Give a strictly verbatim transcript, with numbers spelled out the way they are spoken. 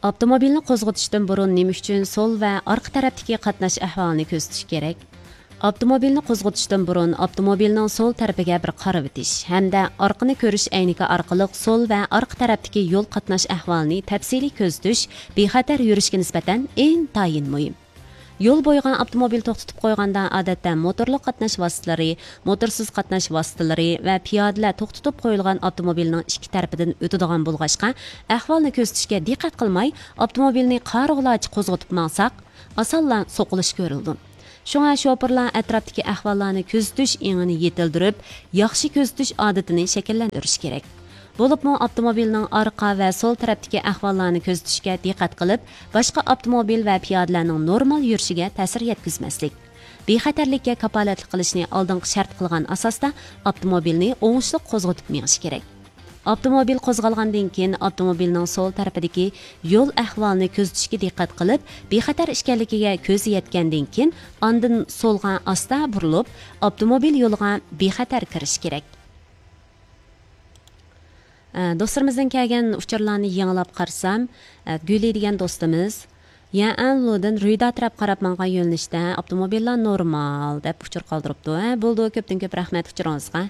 ئاپتوموبىلنى قوزغىتىشتىن بۇرۇن نېمە ئۈچۈن سول ۋە ئارقا تەرەپتىكى قاتناش ئەھۋالىنى كۆزىتىش كېرەك؟ ئاپتوموبىلنى قوزغىتىشتىن بۇرۇن ئاپتوموبىلنىڭ سول تەرىپىگە بىر قارىۋېتىش ھەمدە ئارقىنى كۆرۈش ئەينىكى ئارقىلىق سول ۋە ئارقا تەرەپتىكى يول قاتناش ئەھۋالىنى تەپسىلىي كۆزىتىش بىخەتەر يۈرۈشكە نىسبەتەن ئىنتايىن مۇھىم. يول بويىغا ئاپتوموبىل توختىتىپ قويغاندا، ئادەتتە موتورلۇق قاتناش ۋاسىتىلىرى، موتورسىز قاتناش ۋاسىتىلىرى ۋە پىيادىلەر توختىتىپ قويۇلغان ئاپتوموبىلنىڭ ئىككى تەرىپىدىن ئۆتىدىغان بولغاچقا، ئەھۋالنى كۆزىتىشكە دىققەت قىلماي، ئاپتوموبىلنى قارىغۇلارچە قوزغىتىپ ماڭساق، ئاسانلا سوقۇلۇش كۆرۈلىدۇ. شۇڭا شوپۇرلار ئەتراپتىكى ئەھۋاللارنى كۆزىتىش ئېڭىنى يېتىلدۈرۈپ، ياخشى كۆزىتىش ئادىتىنى شەكىللەندۈرۈشى كېرەك. بولۇپمۇ ئاپتوموبىلنىڭ ئارقا ۋە سول تەرەپتىكى ئەھۋاللارنى كۆزىتىشكە دىققەت قىلىپ، باشقا ئاپتوموبىل ۋە پىيادىلەرنىڭ نورمال يۈرۈشىگە تەسىر يەتكۈزمەسلىك. بىخەتەرلىككە كاپالەتلىك قىلىشنى ئالدىنقى شەرت قىلغان ئاساستا ئاپتوموبىلنى ئوڭۇشلۇق قوزغىتىپ مېڭىش كېرەك. ئاپتوموبىل قوزغالغاندىن كېيىن ئاپتوموبىلنىڭ سول تەرىپىدىكى يول ئەھۋالىنى كۆزىتىشكە دىققەت قىلىپ، بىخەتەر ئىكەنلىكىگە كۆزى يەتكەندىن كېيىن، ئاندىن سولغا ئاستا بۇرۇلۇپ، ئاپتوموبىل يولىغا بىخەتەر كىرىش كېرەك. ئە، دوستلىرىمىزدىن كەلگەن ئۇچۇرلارنى يېڭىلاپ قارىسام، ئە، گۈلى دېگەن دوستىمىز، يەنئەنلۇدىن رۈيدا تەرەپ قاراپ ماڭغان يۆنىلىشتە ئاپتوموبىللار نورمال دەپ ئۇچۇر قالدۇرۇپتۇ. ھە، بولىدۇ، كۆپتىن كۆپ رەھمەت ئۇچۇرىڭىزغا.